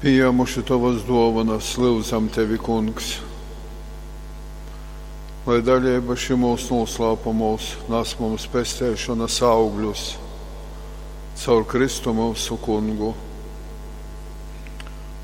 Pījāmuši Tovas dōvonas, lyudzam Tevi, Kungs, lai daleiba šymūs nūslāpumūs nas mums pesteišonas augļus caur Kristu myusu Kungu.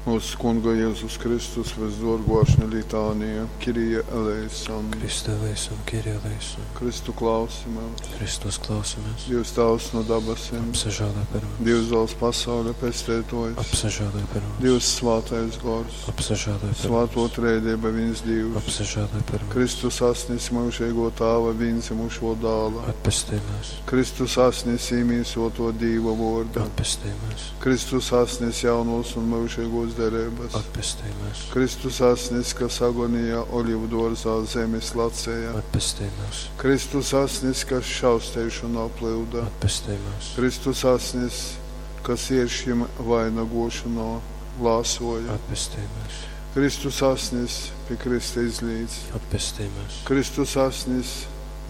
Mūsu Kunga Jēzus Kristus vysdōrgō ašņa litānija, Kyrie eleison. Christe eleison, Kyrie eleison. Kristu klausimies. Kristus klausimies. Dievs Tēvs no dabasim. Apsažēloj par mums. Dievs dāls pasaules pestētojs. Apsažēloj par mums. Dievs svātais gors. Apsažēloj par Svāto mums. trēdība viens Dievs. Apsažēloj par mums. Kristus asnis mūžīgo Tāva vienzimušo dāla. Atpestī mūs. Kristus asnis īmīsoto Dīva vorda. Atpestī mūs. Kristus asnis jaunos un mūžīgos derības. Atpestī mūs. Kristus asnis, kas agonijā olivu dārzā zemes lacēja. Atpestī mūs. Kristus asnis, kas šausteišanā plūda. Atpestī mūs. Kristus asnis, kas iešķim vainagošanā lāsoja. Atpestī mūs. Kristus asnis pie Krista izlīdz. Atpestī mūs. Kristus asnis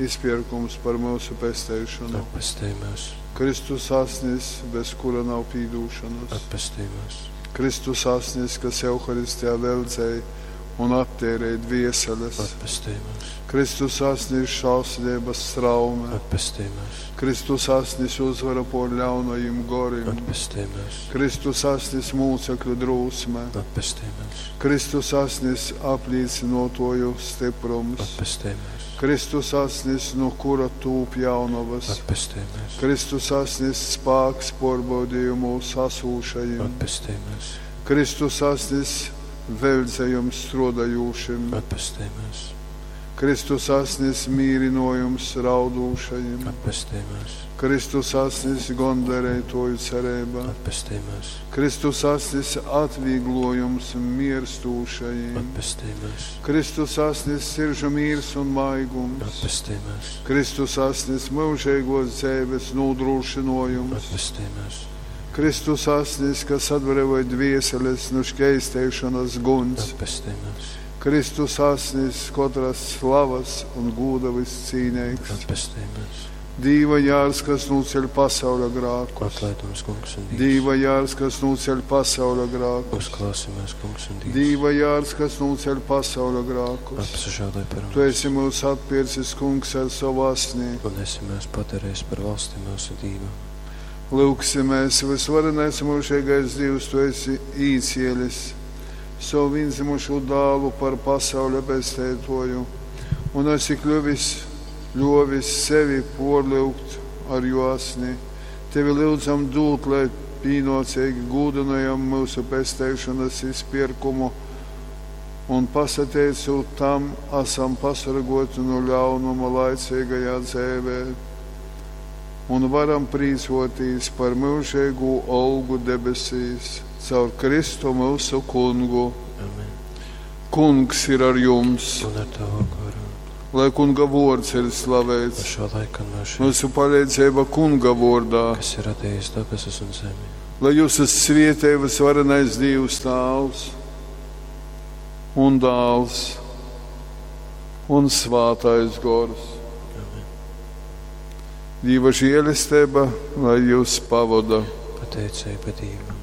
izpirkums par mūsu pesteišanu. Atpestī mūs. Kristus asnis, bez kura nav pīdūšanas. Atpestī mūs. Kristus asnis, kas Euharistijā veldzēja un attērēja dvieseles. Atpestī mūs. Kristus asnis šausmības straume. Atpestī mūs. Kristus asnis uzvara por ļaunajiem gorim. Atpestī mūs. Kristus asnis mūcekļu drūsme. Atpestī mūs. Kristus asnis aplīcinotoju stiprums. Atpestī mūs. Kristus asnis, no kura tūp jaunavas. Atpestī mūs. Kristus asnis spāks porbaudījumos asūšajiem. Atpestī mūs. Kristus asnis veldzējums strodajūšim. Atpestī mūs. Kristus asnis mīrinojums raudūšajiem. Atpestī mūs. Kristus asnis gondarētoju cerība. Atpestī mūs. Kristus asnis atvieglojums mirstūšajiem. Atpestī mūs. Kristus asnis siržu mīrs un maigums. Atpestī mūs. Kristus asnis mūžīgos dzīves nodrošinojums. Atpestī mūs. Kristus asnis, kas atbrīvoja dvieseles no šķeistēšanas guns. Atpestī mūs. Kristus asnis, katras slavas un gūda viscīnīgs. Atpestī mūs. Dīva jārs, kas nuceļ pasaules grākus. Atlaid mums, Kungs un Dievs. Dīva jārs, kas nuceļ pasaules grākus. Uzklausi mūs, Kungs un Dievs. Dīva jārs, kas nuceļ pasaules grākus. Apsažēloj par Tu mums. esi mūs atpircis, Kungs, ar savu asnī. Un esi mūs padarījis par valsti mūsu Dievam. Lūksimies, visvarenais mūžīgais Dievs, tu esi īcielis savu vienzimušo dālu par pasaules pestētoju, un esi kļuvis, ļovis sevi porlūgt ar jo asni. Tevi lūdzam dūt, lai pīnocīgi gūdinājam mūsu pesteišanas izpirkumu, un pasateicot tam, esam pasargoti no ļaunuma laicīgajā dzīvē un varam prīcoties par mūžīgo olgu debesīs caur Kristu mūsu kungu. Amen. Kungs ir ar jums, Un ar tavu goru. lai kunga vārds ir No slavēts. šā laika un mūžiem, Mūsu palīdzība kunga vārdā, kas ir radījis debesis un zemi. lai jūs esat svietē visvarenais Dievs Tāvs un Dāls un Svātais Gors. Amen. Dieva žēlastība, lai jūs pavada. Pateicība Dievam.